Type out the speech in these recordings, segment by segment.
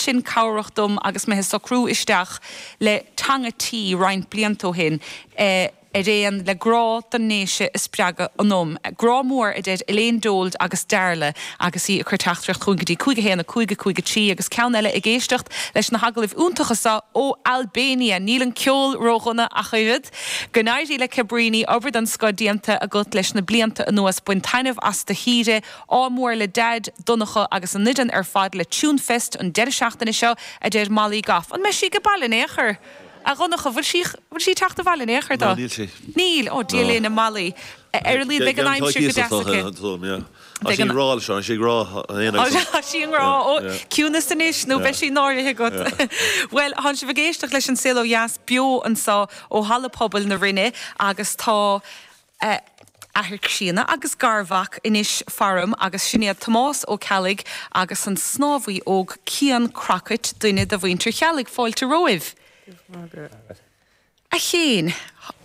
sin cabhrach dom agus mé ag socrú isteach le teanga tí roinnt blianta ó shin. Ar aon le grá don nDéise a spreagadh ionam. Grá mór, a deir Elaine Dold agus Dearla agus í ag cur teachtaireacht chugainn go dtí 5 1 5 5 3 agus ceann eile ag éisteacht leis na hagallaimh iontacha seo ó Albania. Níl an ceol ródhona ach oiread. Go n-éirí le Cabrini, obair den scoth déanta agat leis na blianta anuas. Bain taitneamh as do shaoire. Ádh mór le Daid, Donncha agus an fhoireann ar fad le Tunefest an deireadh seachtaine seo, a deir Molly Goff. An mbeidh sí ag baile in aon chor? A Dhonncha, bhfuil sí, bhfuil sí ag teacht abhaile in aon chor do? No, níl sí. Níl? Ó, Dia linn, a Mholly. Ar a laghad beidh an aimsir go deas aici. Tá sí i ngrá leis, tá sí i ngrá an aon Tá sí i ngrá. Ó, ciúnas anois nó beidh sí náirithe agat. Bhuel, tánn sibh ag éisteacht leis an Saol Ó Dheas beo anseo ó Halla Pobail na Rinne agus tá athair críonna agus garmhac anois faram agus sin iad Tomás Ó Ceallaigh agus an snámhaí óg Cian Crockett, duine de mhuintir Cheallaigh. Fáilte romhaibh. A Chiain,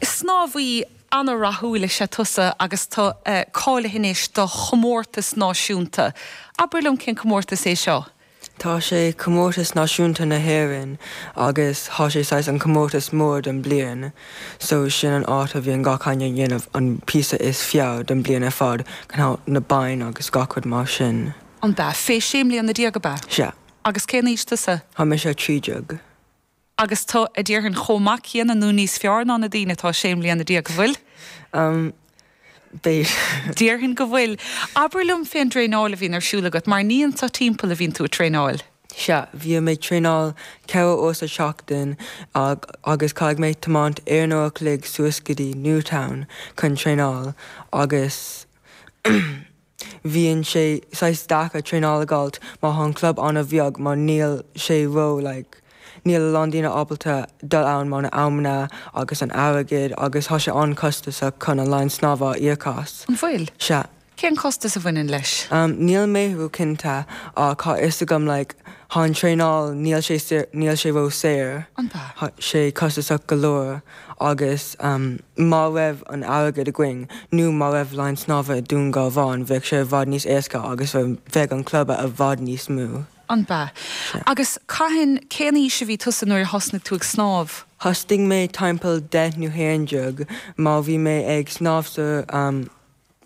snámhaí ana-rathúil is ea tusa agus tú cáilithe anois do chomórtas náisiúnta. Abair liom cén comórtas é seo? Tá sé comórtas náisiúnta na hÉireann agus thá sé saghas an comórtas mór don bliain so sin an áit a bhíonn gach éinne ag dhéanamh an píosa is fearr don bliain ar fad chun na boinn agus gach rud mar sin. An b'ea? Fé sé mbliana déag ab ea? Sea. Agus cén aois tusa? Thá mise 13. Agus tú, a déarfainn, chomh maith céanna nó níos fearr ná na daoine atá sé mbliana déag, an bhfuil? Umm, b'fhéidir. Déarfainn go bhfuil. Abair liom fén dtraenáil a bhíonn ar siúl agat, mar ní anso timpeall a bhíonn tú ag traenáil. Sea, bhíonn mé ag traenáil 4 uair sa tseachtain agus caithfidh mé tiomáint aon uair a chloig suas go dtí Newtown chun traenáil agus Bhíonn sé saghas deacair traenáil a dh'fháilt má thá an club ana-bheag mar níl sé ró like níl a lán daoine ábalta dul ann mar na amanna agus an airgead agus thá sé an-chostasach chun an line snámha a íoc as. An bhfuil? Sea. Cén costas a bhaineann leis? Um níl mé ró cinnte ach thá fhios agam like thá an traenáil níl sé saor níl sé ró saor. An b'ea? Thá sé costasach go leor. Agus má raibh an airgead againn, nó má raibh line snámha i Dún Garbhán, bheadh sé i bhfad níos éasca agus bheadh an club i bhfad níos mó. An b'ea? Agus cathain, cén aois a bhí tusa nuair a thosnaigh tú ag snámh? Thosnaigh mé timpeall deich nó 11, mar bhí mé ag snámh sa.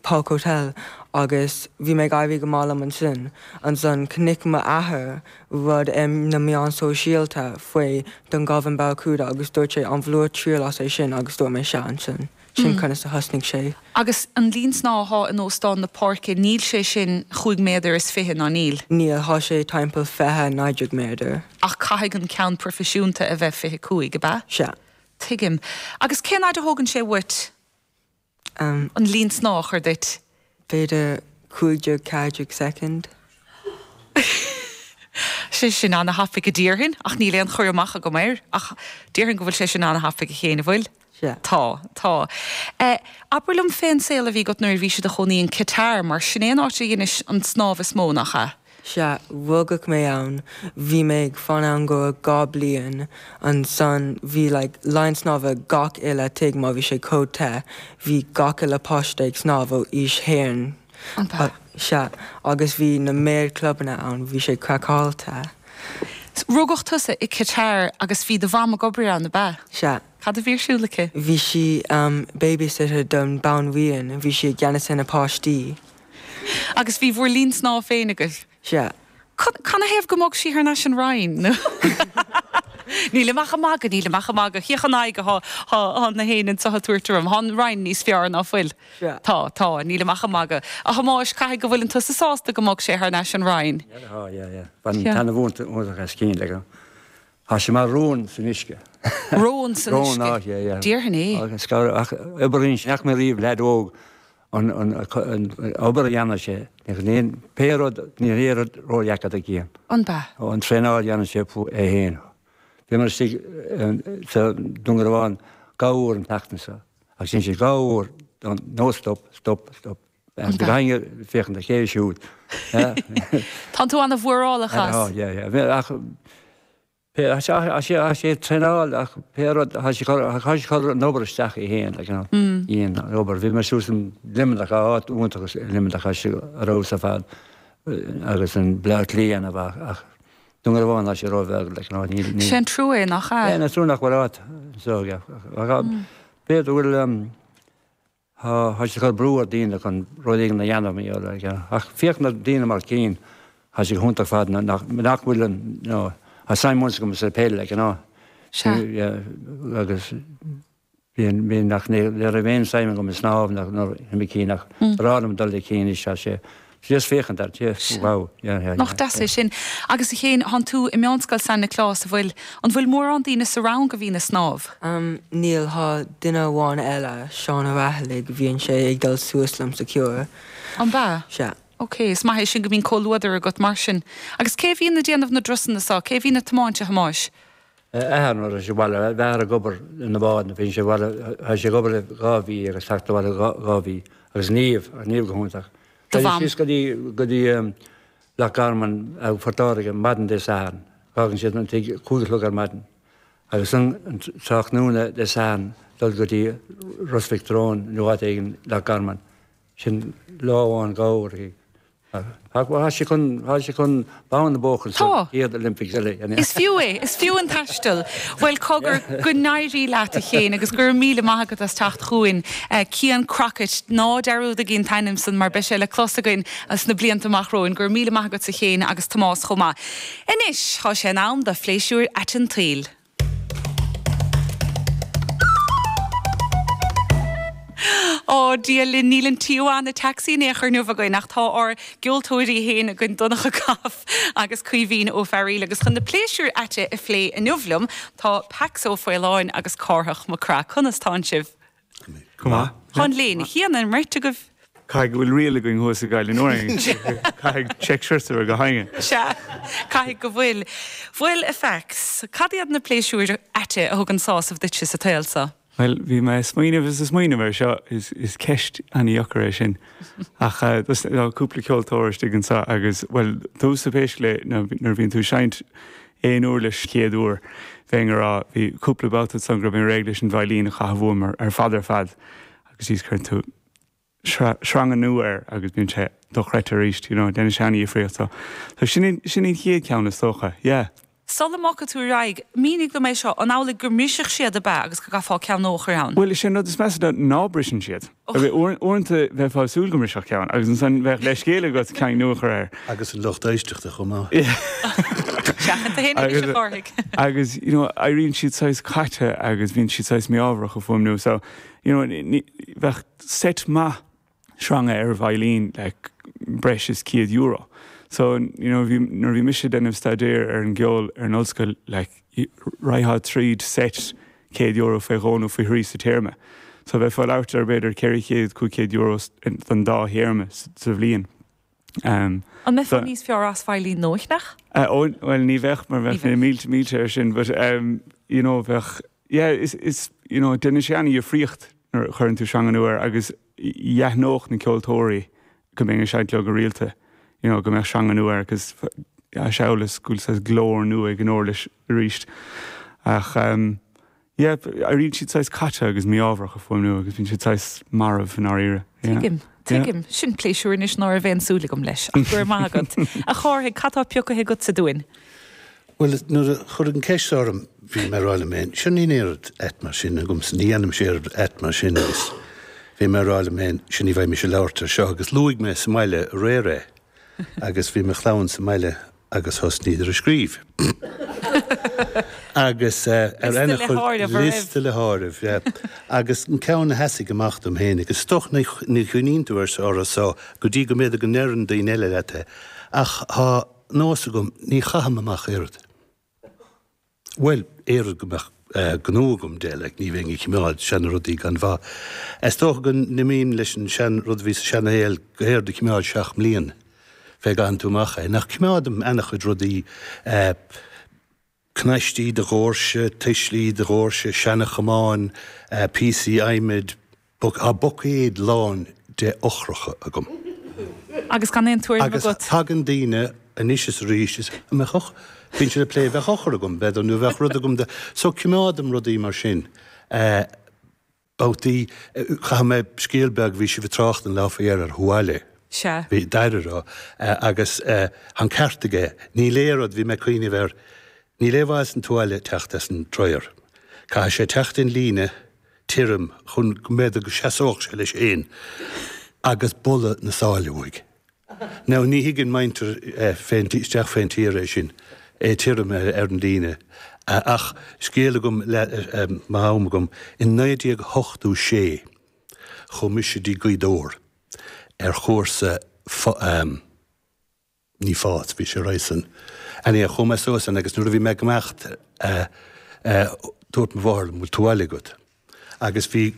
Park Hotel agus bhí mé ag éirí go maith liom ansin. Ansan chonaic m'athair rud ar na meáin sóisialta faoi Dungarvan Barracuda agus dúirt sé an bhfuil tú ag triail as é sin agus dúirt mé sea ansin. Sin conas a thosnaigh sé. Agus an líon snámha athá in Óstán na Páirce níl sé sin chúig méadar is fiche, ná níl? Níl, thá sé timpeall 20, 19 méadar. Ach caithfidh an ceann proifisiúnta a bheith 25, ab ea? Sea. Tuigim. Agus cén fhaid a thógann sé uait? An líon snámha a chur duit. B'fhéidir 15, 14 soicind. Sé sin ana-thapaidh a déarfainn, ach níl aon chur amach agam air. Ach déarfainn go bhfuil sé sin ana-thapaidh a Chéin, an bhfuil? Sea. Tá, tá. Abair liom fén saol a bhí agat nuair a bhís i do chónaí in Qatar, mar sin é an áit a dheinis an snámh is mó, nach ea? Sea, rugadh mé ann, bhí mé ag fan ann go raibh 2 bliain, ansan bhí like line snámha gach uile tigh mar bhí sé chomh te, bhí gach uile páiste ag snámh ó aois haon, An b'ea? sea, agus bhí na méad clubanna ann, bhí sé craiceáilte. Rugadh tusa i Qatar agus bhí do mham ag obair ann, ab ea? Sea. Cad a bhí ar siúl aici? Bhí sí babysitter don banríon, bhí sí i gceannas ar na páistí. Agus bhí bhur linn snámha féin agaibh? Sea. Canathaobh go mbog sí thar n-ais an Rinn? Nó Nílim ach ag magadh, nílim ach ag magadh. Féach an aghaidh athá thá na héinne anseo ag tabhairt orm. Thá an Rinn níos fearr, ná fuil? Sea. Tá, tá, nílim ach ag magadh. A Thomáis, caithfidh go bhfuileann tusa sásta go mbog sé thar n-ais an Rinn? Yeah, tá, yeah, yeah. Bainim taitneamh iontach as Cian, like. Tá sé mar rón san uisce. Rón san uisce? Rón, ah, yeah, yeah. Déarfainn é. Agus ach oibríonn sé, nach mé riamh leaid óg an obair a dhéanann sé, níl pé rud, níl aon rud ródheacair do Cian. An b'ea? Ó, an traenáil a dhéanann sé é féin. Bhíomar istigh sa Dún Garbhán dhá uair an tseachtain seo agus dhein sé dhá uair no stop, stop, stop. An b'ea? Bheinn féachaint a chéile siúd. Tánn tú ana-mhórálach as. Tá, yeah, yeah. Ach Pé, tá sé, tá sé ag traenáil ach pé rud, tá sé cur, tá sé cur an obair isteach é féin, like, you know, dhéan an obair. Bhí mé suas in Luimneach, áit iontach i Luimneach, tá sé ar fheabhas ar fad agus in Bleá Cliath ach, ach. Dún Garbhán tá sé róbheag like you know níl, níl. Sé an trua é, nach ea? Yeah, an trua nach bhfuil áit anseo aige. Ach b'fhéidir go bhfuil tá, tá sé ag cur brú ar daoine chun rud éigin a dhéanamh mar gheall air. Ach féach na daoine mar Cian, tá sé go hiontach fad nach, nach bhfuil an, you know, tá suim agam sa peil like you know. Sea. Yeah, agus. Bhí, bhí, nach, ní raibh aon suim agam i snámh ná i Cian ach ba bhreá liom dul le Cian anois tá sé just féachaint air, yeah, wow, yeah, yeah, Nach deas é sin. Agus a Chéin, thánn tú i Meánscoil San Nioclás, an bhfuil, an bhfuil mórán daoine sa rang a bhíonn ag snámh? Níl, thá duine amháin eile, Seán Ó Raghallaigh, bhíonn sé ag dul suas liom sa Cure. An b'ea? Sea. Ok, is maith é sin go mbíonn comhluadar agat mar sin. Agus cé a bhíonn ag déanamh na dturasanna so? Cé a bhíonn ag tiomáint, a Thomáis? Athair nuair atá sé abhaile, bheadh athair ag obair ina bhád nuair bhíonn sé abhaile, tá sé ag obair dhá mhí agus teacht abhaile dhá mhí agus Niamh, Niamh go hiontach. Do mham. Síos go dtí, go dtí Loch Garman, Phort Láirge, maidin Dé Sathairn. Fágann siad an tigh 5 a chlog ar maidin agus an tráthnóna Dé Sathairn dul go dtí Ros Mhic Treoin nó áit éigin Loch Garman. Sin lá amháin dhá uair. Ach tá sé chun, tá sé chun bonn a bhuachan sa chéad Olympics eile. Is fiú é, is fiú an taisteal. Bhuel, cogar, go n-éirí leat a Chéin agus go raibh míle maith agat as teacht chugainn. Cian Crockett, ná dearúdaigí an t-ainm san mar beidh sé le clos againn sna blianta amach romhainn. Go raibh míle maith agatsa a Chéin agus Tomás chomh maith. Anois, tá sé in am do phléisiúir ait an tsaoil. Ó, Dia linn, níl an Tijuana Taxi in aon chor inniu againn ach tá ár gceoltóirí féin againn, Donncha Goff agus Caoimhín Ó Fearaíl agus chun na pléisiúir aite a phlé inniu liom tá Pax Ó Faoláin agus Cárthach Mac Craith. Conas tánn sibh? Go maith. Tá an léine chéanna ar an mbeirt agaibh. Caithfidh go bhfuil riail againn thuas i Gaillimh Nuair Caithfidh check shirts a bheith go hainge. Sea, caithfidh go bhfuil. Bhuel, a Phax, cad iad na pléisiúir aite a thugann sásamh duitse sa tsaol so? Bhuel, bhí mé ag smaoineamh is ag smaoineamh air seo, is ceist an-dheacair é sin. Ach tá cúpla ceoltóir istigh anseo agus, bhuel, domhsa pé scéal é, nuair a bhíonn tú ag seinnt aon uirlis chéad uair, bheinn ag rá, bhí cúpla babhta ansan go raibh mé réidh leis an veidhlín a chaitheamh uaim ar fad ar fad agus thíos cuireann tú sreanga nua air agus bíonn sé dochreidte arís, you know, déanann sé an-dhifríocht. So, so sin, sin an chéad cheann is dócha, yeah. Sula mbogfaidh tú ar aghaidh, mínigh dom é seo, an amhlaidh go mbrisfeadh siad ab ea agus go gcaithfeá ceann nua a chur ann? Bhuel, is é an rud is measa ná ná briseann siad. Uaireanta bheifeá ag súil go mbrisfeadh ceann agus ansan bheadh leithscéal agat ceann nua a chur air. Agus an lucht éisteachta chomh maith. Seachain tú féin anois a Chárthaigh. Agus, you know, éiríonn siad saghas caite agus bíonn siad saghas mí-ámharach a fuaimniú so, you know, bheadh seit maith sreanga ar veidhlín like breis is €100. So, you know, bhí, nuair a bhí mise ag déanamh staidéir ar an gceol ar an ollscoil, like, raghfá tríd seit €100 faoi dhó nó faoi thrí sa téarma. So bheifeá ag labhairt ar b'fhéidir 400, €500 don dá théarma sa bhliain. An mbeifeá níos fearr as veidhlín nua a cheannach? Ó, bhuel, ní bheadh mar bheadh na mílte mílte air sin, but, you know, bheadh, yeah, is, is, you know, déanann sé an-dhifríocht nuair a chuireann tú sreanga nua air agus d'aithneodh na ceoltóirí go mbeinn ag seinnt leo go rialta, you know, go mbeadh sreanga nua air agus shamhail is go bhfuil saghas glór nua ag an uirlis arís. Ach ehm yeah, éiríonn siad saghas caite agus mí-ámharach a fuaimniú agus bíonn siad saghas marbh i ndáiríre. Yeah. Tuigim, tuigim. Sin pléisiúr anois ná raibh aon súil agam leis, ach go raibh maith agat. A Chárthaigh, cad tá pioctha agatsa dúinn? Bhuel, nuair a cuireadh an cheist orm, bhí mé ag rá liom féin, sure níl aon rud ait mar sin agamsa, ní dhéanaimse aon rud ait mar sin agus bhí mé ag rá liom féin, sure ní bheidh mise ag labhairt ar seo agus luaigh mé sa mbaile aréir é agus bhí mo chlann sa mbaile agus thosnaíodar ag scríobh. Agus ar Liosta le háireamh, an raibh? Liosta le háireamh, yeah. Agus an ceann a sheasfaidh amach dom féin, agus is dócha ní chuimhníonn tú air orthu so go dtí go mb'fhéidir go ndeireann daoine eile leat é, ach tá nós agam, ní chaithim amach oiread. Bhuel, oiread go mbeadh gnó agam de, like, ní bheinn ag cimeád seana-rudaí gan mhaith. Is dócha go n-imím leis an sean-rud a bhí sa seana-shaol go haon rud a chimeád seacht mblian fé gcaitheann tú amach é. Nach cimeádaim ana-chuid rudaí, cnaistí de dhoirse, tuislí de dhoirse, seana-chamáin, píosaí adhmaid, tá buicéad lán de eochracha agam. Agus gan aon tuairim agat. Agus tagann daoine anois is arís is an mbeadh eochair, bíonn siad ag plé, bheadh eochair agam, b'fhéidir, nó bheadh rud agam de, so cimeádaim rudaí mar sin. Babhtaí, caithfidh mé scéal beag, bhí sibh ag trácht an lá faoi dheireadh ar Hualé. Sea. Bhí d'aire a rá. Agus tá an ceart aige, níl aon rud, bhí mé ag cuimhneamh air, níl aon mhaith san tuáille teacht as an dryer. Caithfidh sé teacht in líne tirim chun go mb'fhéidir go seasódh sé leis fhéin agus boladh na sáile uaidh. Now ní thuigeann muintir fén isteach fén tír é sin, é tirim ar an líne. Ach scéal agam le, má tá am agam, in 1986 chuaigh mise dtí Gaoth Dobhair ar chúrsa ní fás, bhí sé roimhe san. Anyhow, chuaigh mé suas ann agus nuair a bhí mé ag imeacht dúirt mo mháthair liom, bhfuil tuáille agat? Agus bhí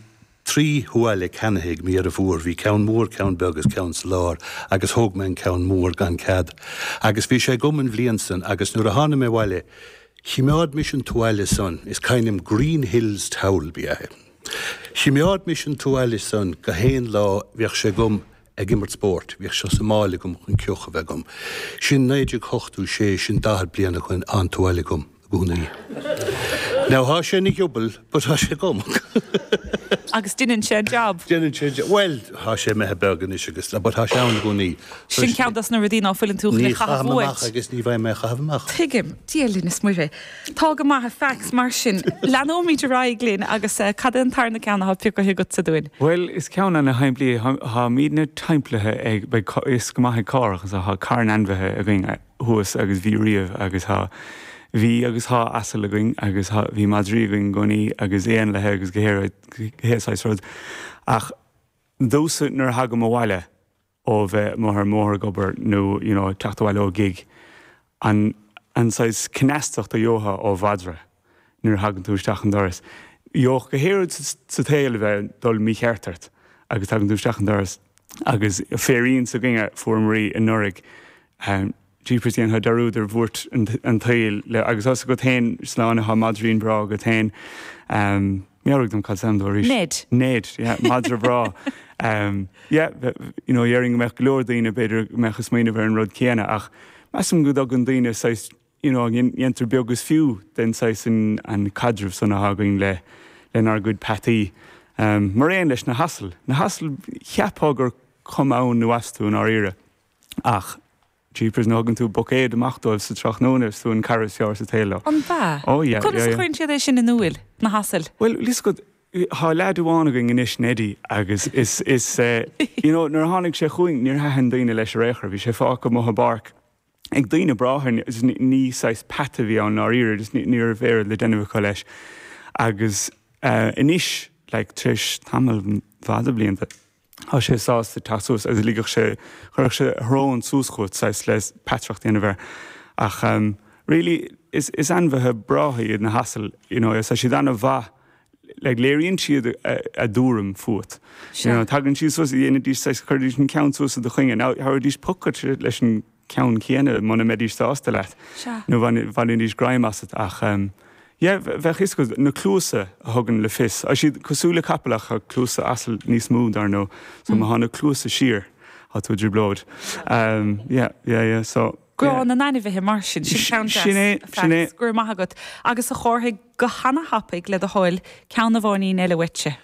trí thuáille ceannaithe ag mo dheirfiúr, bhí ceann mór, ceann beag agus ceann sa lár agus thóg mé an ceann mór gan cead. Agus bhí sé agam an bhliain san agus nuair a tháinig mé abhaile, chimeád mise an tuáille san, is cuimhin liom Green Hills towel ba ea é. Chimeád mise an tuáille san go haon lá bheadh sé agam ag imirt spóirt, bhíodh sé sa mála agam chun ceoch a bheith agam. Sin 1986, sin 40 bliain ó shoin, an tuáille agam i gcónaí. Now thá sé ina ghiobal, but thá sé agam. Agus deineann sé an jab. Deineann sé an jab, bhuel, thá sé imithe beag anois agus, but thá sé ann i gcónaí. Sin ceann dos na rudaí ná fuileann tú chun é a chaitheamh Ní chaithim uait. amach agus ní bheidh mé a chaitheamh amach. Tuigim. Dia linn is Muire. Tá go maith, a Pheaics, mar sin, leanóimid ar aghaidh linn agus cad é an tarna ceann atá pioctha agatsa dúinn? Bhuel, is ceann ana-shimplí é. Táimidne timpeallaithe ag, beidh fhios go maith ag Cárthach, is tá carn ainmhithe againn thuas agus bhí riamh agus tá, bhí agus tá asal againn agus tá, bhí madraí againn i gcónaí agus éanlaithe agus gach aon saghas rud. Ach domhsa nuair a thagaim abhaile, ó bheith amuigh ar an mbóthar ag obair nó you know teacht abhaile ó ghig, an an saghas cneastacht a gheofá ó mhadra nuair a thagann tú isteach an doras. Gheobhadh gach aon rud sa tsaol a bheith ag dul mícheart ort agus tagann tú isteach an doras agus féirín s'againne fuaireamar í anuraidh Jeepers dhéanfá dearúd ar bhuairt an tsaoil le agus tá 'fhios agat féin Sláine tá maidrín breá agat féin. Meabhraigh dom cad is ainm dó arís. Ned. Ned, yeah, madra breá. Yeah, you know, dhéarfainn go mbeadh go leor daoine b'fhéidir go mbeadh ag smaoineamh ar an rud céanna ach measaim go dtugann daoine saghas, you know, dhéantar beag is fiú den saghas an caidreamh san atá againn le lenár gcuid peataí. Mar aon leis na hasail. Na hasail, cheapfá gur cuma ann nó astu i ndáiríre. Ach, jeepers, nuair a thugann tú buicéad amach dóibh sa tráthnóna, is tú an cara is fearr sa tsaol leo. An b'ea? Oh yeah, Conas yeah, a chuireann siad é sin in iúil, na hasail? Bhuel, bhfuil 'fhios agat, thá leaid amháin againn anois, Neddy, agus is, is, you know, nuair a tháinig sé chugainn, níor thaitin daoine leis ar aon chor, bhí sé fágtha amuigh i bpáirc ag daoine breátha, ní saghas peata a bhí ann i ndáiríre, just ní raibh aon rud le déanamh acu leis. Agus anois, like, tar éis tamall fada blianta, Tá sé sásta teacht suas agus ligfeadh sé, chuirfeadh sé a shrón suas chugat, saghas le peataireacht a dhéanamh air. Ach really, is, is ainmhithe breátha iad na hasail, you know, tá siad an-mhaith, like léiríonn siad a, a dtuairim fút. You know, tagann siad suas, dhéanfaidís saghas, chuirfidís an ceann suas i do choinne. Now, thabharfaidís poc dhuit leis an ceann céanna muna mbeidís sásta leat nó bhainfidís greim asat ach yeah bheadh fhios agat na cluasa a thugann le fios. Tá siad cosúil le capall ach tá cluasa asail níos mó dar ndóigh so má tá na cluasa siar tá tú i dtrioblóid. Yeah yeah yeah so Grá na n-ainmhithe mar sin, sin ceann deas. Sin é, sin é. Go raibh maith agat. Agus a Chárthaigh, go hana-thapaidh le do thoil, ceann amháinín eile uaitse.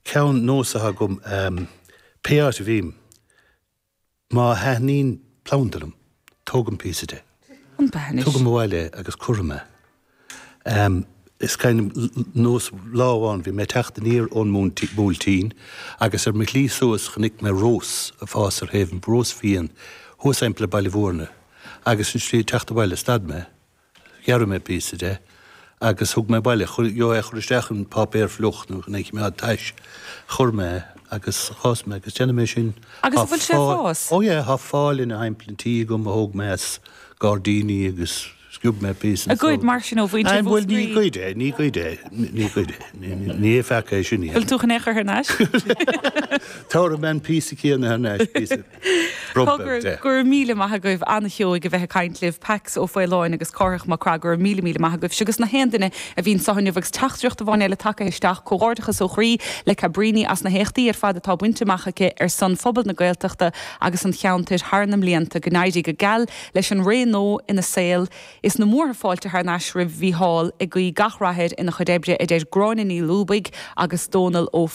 Ceann nós atá agam, pé áit a bhím, Má thaitníonn planda liom, tógaim píosa de. An b'ea anois? Tugaim abhaile é agus cuirim é. Is cuimhin nós lá amháin bhí mé ag teacht aniar ón mBuailtín agus ar mo shlí suas chonaic mé rós ag fás ar thaobh an, rós fiain, thuas thimpeall ar Baile Mhúirne agus an slí ag teacht abhaile stad mé Ghearr mé píosa de agus thug mé abhaile, gheobhadh é a chur isteach in páipéar fliuch nó chun é a choimeád tais. Chuir mé é agus d'fhás mé agus déanaim é sin. Agus an bhfuil sé ag fás? Oh yeah, tá fál ina thimpeall an tí agam a thóg mé as gairdíní agus sciob mé píosa. A ghoid mar sin ó mhuintir Mhúscraí? Bhuel ní goid é, ní goid é, ní goid é, ní hé feaca é sin é. Bhfuil tú chun é a chur thar n-ais? Tabharfaidh mé an píosa céanna thar n-ais, píosa. Cogar, go raibh míle maith agaibh, ana-sheoigh a bheith ag caint libh, Pax Ó Faoláin agus Cárthach Mac Craith, go raibh míle míle maith agaibh. Agus na haon duine a bhí anso inniu agus teachtaireacht amháin eile tagtha isteach, comhghairdeachas ó chroí le Cabríní as na héachtaí ar fad atá bainte amach aici ar son phobal na Gaeltachta agus an cheantair thar na mblianta. Go n-éirí go geal leis an ré nua ina saol. Is na múrtha fáilte thar n-ais roimh Mhícheál, ag guí gach rath air ina chuid oibre, a deir Gráinne Ní Lúbaigh agus Dónal Ó.